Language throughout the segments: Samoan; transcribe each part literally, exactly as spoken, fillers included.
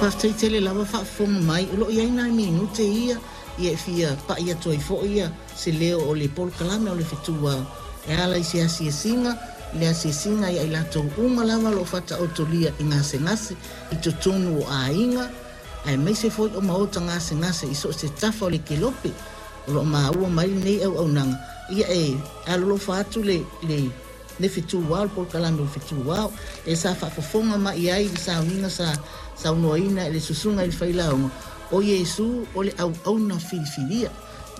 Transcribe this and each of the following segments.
Faafetai tele lava faafofoga mai, o lo o i ai nai minute ia ia e fia pa'i atu ai foi ia se leo o le polokalame o le Fetu Ao e ala i se asiasiga, le asiasiga ia i latou uma lava o lo o faataotolia i gasegase i totonu o aiga, aemaise foi o maota gasegase i so o se tafa o le kelope o lo o maua mai lenei auaunaga. Ia e alolofa atu le le le Fetu Ao, le polokalame o le Fetu Ao e sa faafofoga mai ai i le sauniga sa saunoaina e le susuga i le failauga o Iesu o le auauna filifilia.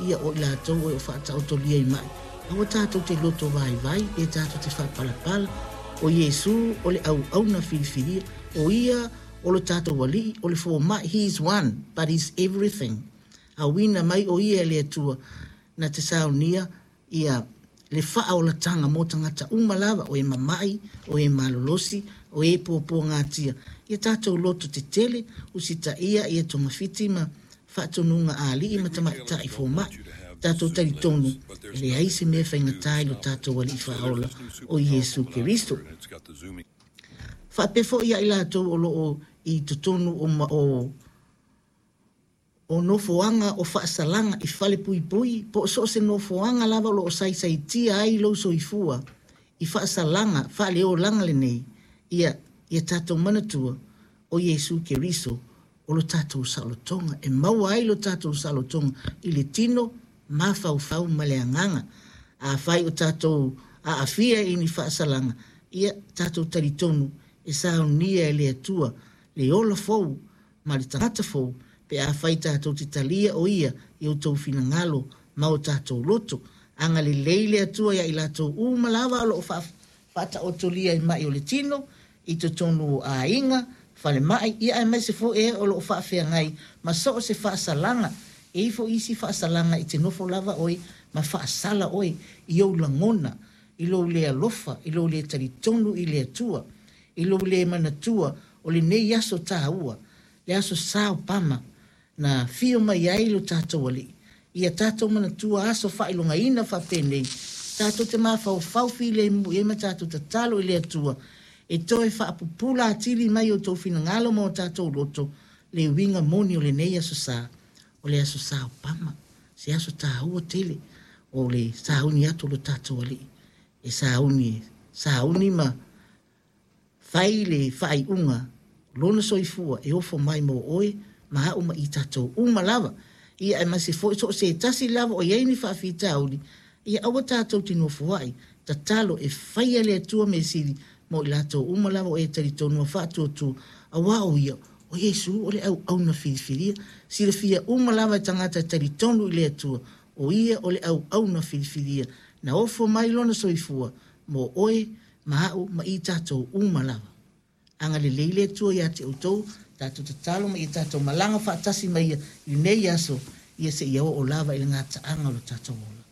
Ia o i latou e o faataotolia i ma'i, aua tatou te loto vaivai pe tatou te faapalapala. O Iesu o le auauna filifilia, o ia o lo tatou alii, o le foma'i. He is one but he's everything. Auina mai o ia e le Atua na te saunia ia le faaolataga mo tagata uma lava, o e mama'i, o e malolosi, o e puapuagatia. Ia tatou loto tetele, usitaia ia togafiti ma faatonuga a alii Big ma retailers tamaitai don't want foma'i. you to have this Tatou zoom talitonu lens, but e there's leai nothing se you can mea do to faigata i stop lo it. tatou alii So there's faaola this new o super powerful Iesu binocular Keriso. and it's got the zooming Faapea foi ia i latou o lo o i totonu o, ma, o o nofoaga o faasalaga i fale puipui, po o so o se nofoaga lava o lo o saisaitia ai lou soifua i faasalaga faaleolaga lenei. Ia ia tatou manatua o Iesu Keriso o lo tatou saolotoga, e maua ai lo tatou saolotoga i le tino, mafaufau ma le agaga. Afai o tatou aafia i ni faasalaga, ia tatou talitonu e saunia e le Atua le ola fou ma le tagata fou pe afai tatou te talia o ia i outou finagalo ma o tatou loto. Agalelei le Atua ia i latou uma lava o lo o faataotolia i ma'i o le tino i totonu o aiga, falemai, ia aemaise foi e o lo o faafeagai ma so o se faasalaga. E i foi isi faasalaga i te nofo lava oe ma faasala oe i ou lagona, i lou le alofa, i lou le talitonu i le Atua, i lou le manatua o lenei aso taua, le aso Sa o Pama na fio mai ai lo tatou alii. Ia tatou manatua aso faailogaina faapenei, tatou te mafaufau filemu i ai ma tatou tatalo i le Atua e toe faapupula atili mai outou finagalo ma o tatou loto le uiga moni o lenei aso sa, o le aso Sa o Pama, se aso taua tele o le sauni atu o lo tatou alii e sauni, sauni ma fai le faaiuga lona soifua e ofo mai mo oe ma a'u ma i tatou uma lava. Ia aemaise foi so o se tasi lava o i ai ni faafitauli, ia aua tatou te nofoa'i, tatalo e faia le Atua measili mo i latou uma lava o e talitonu ma faatuatua, auā o ia o Iesu o le auauna filifilia. Silafia uma lava e tagata e talitonu i le Atua o ia o le auauna filifilia na ofo mai lona soifua mo oe ma a'u ma i tatou uma lava. Agalelei le Atua iā te outou, tatou tatalo ma ia tatou malaga faatasi mai ia i lenei aso, ia seia oo lava i le gataaga o lo tatou ola.